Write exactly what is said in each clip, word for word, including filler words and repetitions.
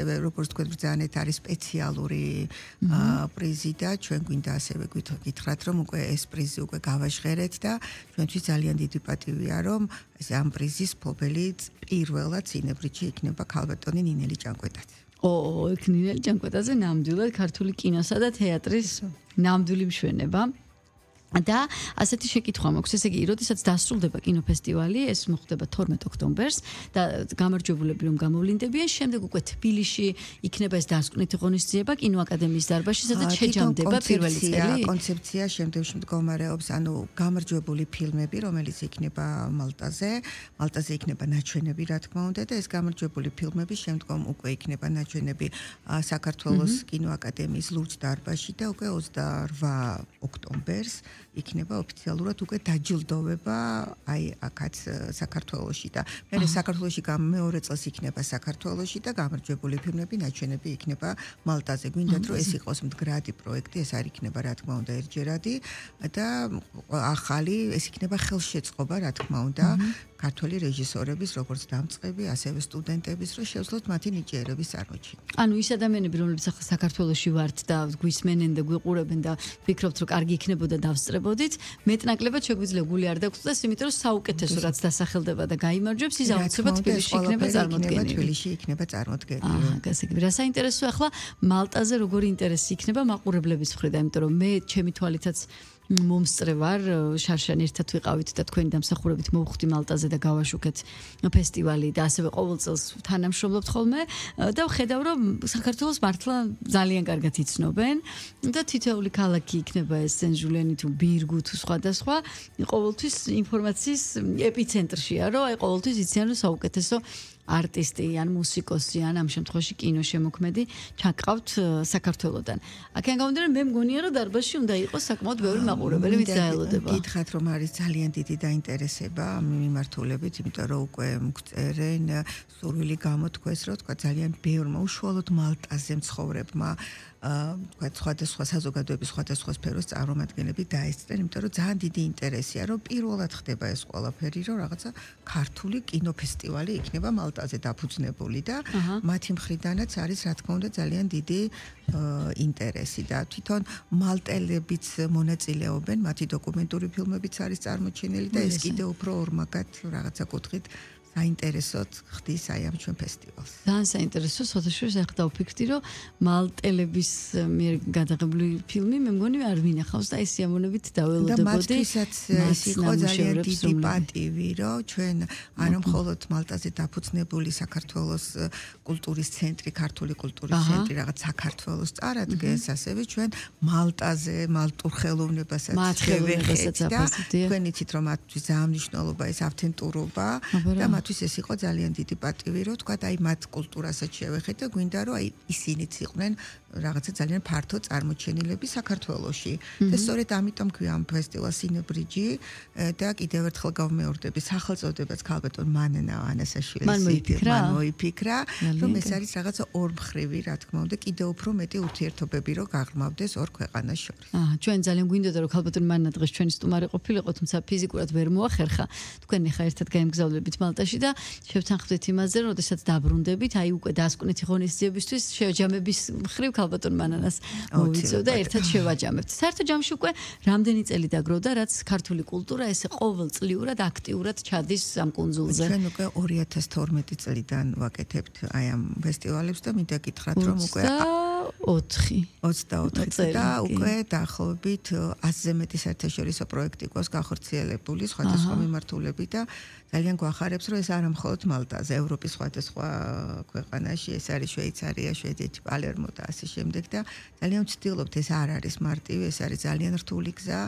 როგორც თქვენ ბრძანეთ არის სპეციალური პრიზი და ჩვენ გვინდა ასევე გითხრათ რომ უკვე ეს პრიზი უკვე გავაჟღერეთ და ჩვენთვის ძალიან დიდი პატივია რომ ამ პრიზის მფლობელი პირველად სინებრიდში იქნება ქალბატონი ნინელი ჭანკვეტაძე. ო, ნინელი ჭანკვეტაძე ნამდვილად ქართული კინოსა და თეატრის ნამდვილი მშვენება. და ასეთი შეკითხვა მაქვს, ესე იგი, როდესაც დასრულდება კინოფესტივალი, ეს მოხდება თორმეტ ოქტომბერს და გამარჯვებულები რომ გამოვლინდებიან, შემდეგ უკვე თბილისში იქნება ეს დასკვნითი ღონისძიება კინოაკადემიის დარბაზში, სადაც შეჯამდება პირველი წელი. კონცეფცია შემდეგში მდგომარეობს, ანუ გამარჯვებული ფილმები, რომელიც იქნება მალტაზე, მალტაზე იქნება ნაჩვენები, რა თქმა უნდა, და ეს გამარჯვებული ფილმები შემდგომ უკვე იქნება ნაჩვენები საქართველოს კინოაკადემიის ლურჯ დარბაზში და უკვე ოცდაორმა ოქტომბერს იქნება ოფიციალურად უკვე დაჯილდოვება აი აქაც საქართველოში და მე საქართველოში მეორე წელს იქნება საქართველოში და გამარჯვებული ფილმები ნაჩვენები იქნება მალტაზე. გვინდათ რომ ეს იყოს მდგრადი პროექტი, ეს არ იქნება რა თქმა უნდა ერთჯერადი და ახალი ეს იქნება ხელშეწყობა რა თქმა უნდა ქართველი რეჟისორების როგორც დამწყები, ასევე სტუდენტების, რომ შევძლოთ მათი ნიჭიერების წარმოჩენა. ანუ ის ადამიანები, რომლებიც ახლა საქართველოში ვართ და გვისმენენ და გვიყურებენ და ვფიქრობთ, რომ კარგი იქნებოდა დავსწრებოდით, მეტნაკლებად შეგვიძლია გული არ დაგწყვეტს, იმიტომ რომ საუკეთესო რაც დასახელდება და გაიმარჯვებს, ის აუცილებლად თბილისში იქნება წარმოდგენილი. თბილისში იქნება წარმოდგენილი. აჰა, გასაგები. რა საინტერესოა ახლა მალტაზე როგორი ინტერესი იქნება მაყურებლების მხრიდან, იმიტომ რომ მე ჩემი თვალითაც მომსწრე ვარ, შარშან ერთად ვიყავით და თქვენი დამსახურებით მოვხვდი მალტაზე და გავაშუქეთ ფესტივალი და ასევე ყოველ წელს თანამშრომლობთ ხოლმე და ვხედავ რომ საქართველოს მართლა ძალიან კარგად იცნობენ და თითოეული ქალაქი იქნება ეს სენ-ჟულენი თუ ბირგუ თუ სხვადასხვა ყოველთვის ინფორმაციის ეპიცენტრშია, რომ აი ყოველთვის იციან რომ საუკეთესო არტისტი ან მუსიკოსი ან ამ შემთხვევაში კინოშემოქმედი ჩაკრავთ საქართველოდან. აქედან გამომდინარე მე მგონია რომ დარბაზში უნდა იყოს საკმაოდ ბევრი მაყურებელი, ვინც დაელოდება. გითხრათ რომ არის ძალიან დიდი დაინტერესება ამ მიმართულებით, იმიტომ რომ უკვე მგწერენ სურვილი გამოთქვეს, რომ თქვა ძალიან ბევრმა უშუალოდ მალტაზე მცხოვრებმა თქვა სხვადასხვა საზოგადოების სხვადასხვა სფეროს წარმომადგენლები დაესწრენ, იმიტომ რომ ძალიან დიდი ინტერესია, რომ პირველად ხდება ეს ყველაფერი, რომ რაღაცა ქართული კინოფესტივალი იქნება მალტაზე დაფუძნებული და მათი მხრიდანაც არის რა თქმა უნდა ძალიან დიდი ინტერესი და თვითონ მალტელებიც მონაწილეობენ, მათი დოკუმენტური ფილმებიც არის წარმოჩენილი და ეს კიდევ უფრო ორმაგად რაღაცა კუთხით საინტერესოდ ხდის აი ამ ჩვენ ფესტივალს. ძალიან საინტერესო, სოთაშორის ახლა დავფიქრდი, რომ მალტელების მიერ გადაღებული ფილმი მე მგონი არ ვინახავს და ეს სიამოვნებით დაველოდებოდი. და მათთვისაც ეს იყო ძალიან დიდი პატივი, რომ ჩვენ არა მხოლოდ მალტაზე დაფუძნებული საქართველოს კულტურის ცენტრი, ქართული კულტურის ცენტრი რაღაც საქართველოს წარადგენს, ასევე ჩვენ მალტაზე მალტურ ხელოვნებასაც შევეხეთ და თქვენ იცით რომ მათთვის ძალიან მნიშვნელობა ეს ავთენტურობა და მათთვის ეს იყო ძალიან დიდი პატივი, რომ თქვა აი მათ კულტურასაც შევეხეთ და გვინდა რომ აი ისინიც იყვნენ რაღაცა ძალიან ფართო წარმოჩენილები საქართველოში. და სწორედ ამიტომ ქვია ამ ფესტივალს სინებრიჯი და კიდევ ერთხელ გავმეორდები სახელწოდებაც ქალბატონ მანნა ანასაშვილის მან მოიფიქრა, რომ ეს არის რაღაცა ორმხრივი, რა თქმა უნდა, კიდევ უფრო მეტი ურთიერთობები რო გაღრმავდეს ორ ქვეყანას შორის. აა, ჩვენ ძალიან გვინდოდა რომ ქალბატონ მანნა დღეს ჩვენი სტუმარი ყოფილიყო, თუმცა ფიზიკურად ვერ მოახერხა. თქვენ ახლა ერთად გაემგზავრებით მალტაში და შევთანხმდით იმაზე, რომ შესაძაც დაბრუნდებით, აი უკვე დასკვნითი ღონისძიებისთვის შეჯამების მხრივ ქალბატონ მანანას მოვიწევ და ერთად შევაჯამებთ. საერთო ჯამში უკვე რამდენი წელი დაგროვდა, რაც ქართული კულტურა ესე ყოველწლიურად აქტიურად ჩადის ამ კუნძულზე. ჩვენ უკვე ორი ათას თორმეტი წლიდან ვაკეთებთ აი ამ ფესტივალებს და მინდა გითხრათ, რომ უკვე ოცდაოთხი ოცდაოთხი და უკვე დაახლოებით ათზე მეტი საერთაშორისო პროექტი გვაქვს გახორციელებული სხვადასხვა მიმართულებით და ძალიან გვახარებს, რომ ეს არა მხოლოდ მალტაზე, ევროპის სხვადასხვა ქვეყანაში, ეს არის შვეიცარია, შვედეთი, პალერმო და ასე შემდეგ და ძალიან ვცდილობთ, ეს არ არის მარტივი, ეს არის ძალიან რთული გზა,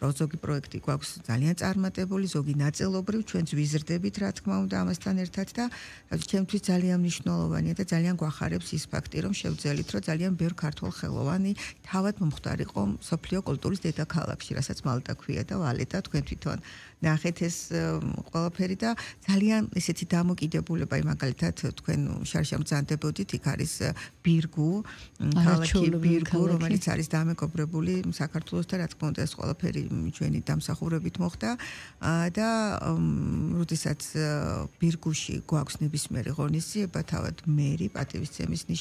რომ ზოგი პროექტი გვაქვს ძალიან წარმატებული, ზოგი ნაწილობრივ, ჩვენც ვიზრდებით, რა თქმა უნდა, ამასთან ერთად და ჩემთვის ძალიან მნიშვნელოვანია და ძალიან გვახარებს ის ფაქტი, რომ შევძელით, რომ ძალიან ბევრ ქართველ ხელოვანი თავად მომხდარიყო მსოფლიო კულტურის დედაქალაქში, რასაც მალტა ქვია და ვალეტა თქვენ თვითონ ნახეთ ეს ყველაფერი და ძალიან ესეთი დამოკიდებულება, მაგალითად თქვენ შარშან ბრძანდებოდით, იქ არის ბირგუ, ქალაქი ბირგუ, რომელიც არის დამეგობრებული საქართველოსთან, რა თქმა უნდა, ეს ყველაფერი ჩვენი დამსახურებით მოხდა და როდესაც ბირგუში გვაქვს ნებისმიერი ღონისძიება, თავად მერი პატივისცემის ნიშნით